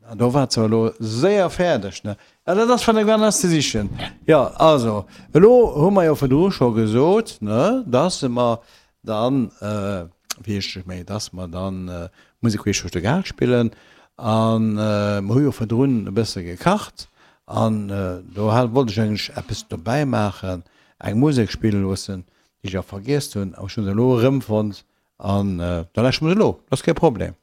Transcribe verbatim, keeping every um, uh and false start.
An do waart se elo séier fäerdeg, ne? Ja, dat ass vun der Gwen ze sichen. Jo, also, elo hu mer jo virdru scho gesot, ne, dass mer dann, wéi heescht ech méi, dass mer dann Musek queesch duerch de Gaart spillen. An mer hu jo virdrun e bësse gekacht an do hat, wollt ech eigentlech eppes dobäi maachen, eng Musek spille loossen, déi ech awer vergiess hunn. Awer ech hu se elo erëmfonnt an da lauschteren mer se elo, dat ass kee Problem.